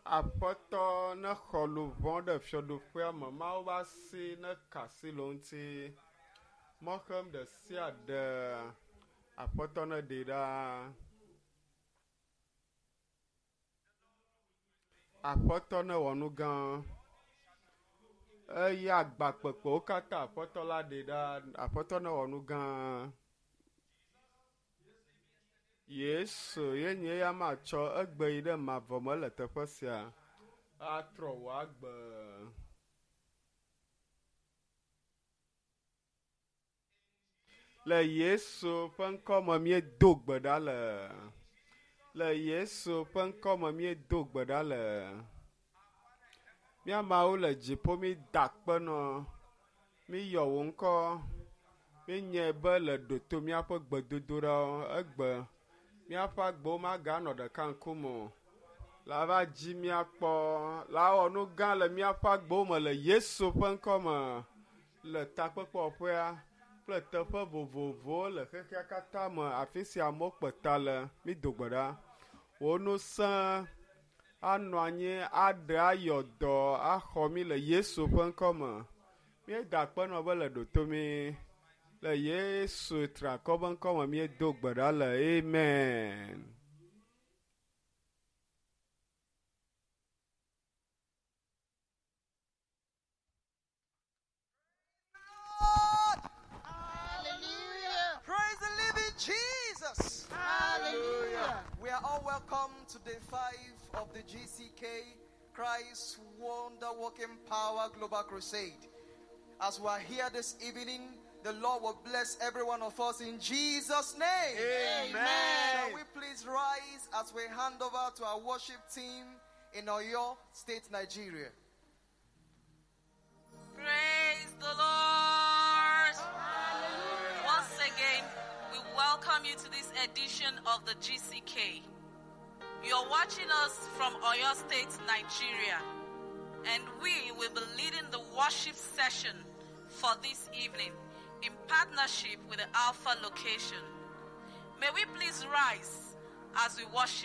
Aƒetɔ nexɔ luʋɔ ɖe fiaɖuƒea me. Mawu ƒe asi neka asi le wo ŋuti. Mɔxem ɖe sia ɖe Aƒetɔ neɖee ɖa. Aƒetɔ newɔ nu gã. Eye agba kpekpewo katã Aƒetɔ la ɖee ɖa. Aƒetɔ newɔ nu gã. Yesu ye nye eya matsɔ egbe yi ɖe mavɔ me le teƒe sia. Atrɔ wò agbe. Le Yesu ƒe ŋkɔ me míedo gbe ɖa le. Le Yesu ƒe ŋkɔ me míedo gbe ɖa le. Mía Mawu le dziƒo mída akpe nɔ. Míyɔ wò ŋkɔ. Míenyae be le ɖo to míaƒe gbedodoɖawo egbe. Míaƒe agbewo maganɔ ɖeka ŋkume o. La va dzi míakpɔ. La wɔ nu gã le míaƒe agbewo me le Yesu ƒe ŋkɔ me. Le takpekpeɔƒea kple teƒe vovovowo le xexea katã me afi sia amewo kpe ta le. Mído gbe ɖa. Wò ŋusẽ anɔ anyi aɖe ayɔ dɔ axɔ mí le Yesu ƒe ŋkɔ me. Míeda akpe nɔ be le ɖo to mí. Le Yesu triakɔ ƒe ŋkɔ me míedo gbe ɖa le. Amen. Hallelujah. Praise the living Jesus. Hallelujah. We are all welcome to day 5 of the GCK Christ Wonder Working Power Global Crusade. As we are here this evening, the Lord will bless every one of us in Jesus' name. Amen. Shall we please rise as we hand over to our worship team in Oyo State, Nigeria? Praise the Lord. Once again, we welcome you to this edition of the GCK. You're watching us from Oyo State, Nigeria, and we will be leading the worship session for this evening in partnership with the Alpha location. May we please rise as we worship.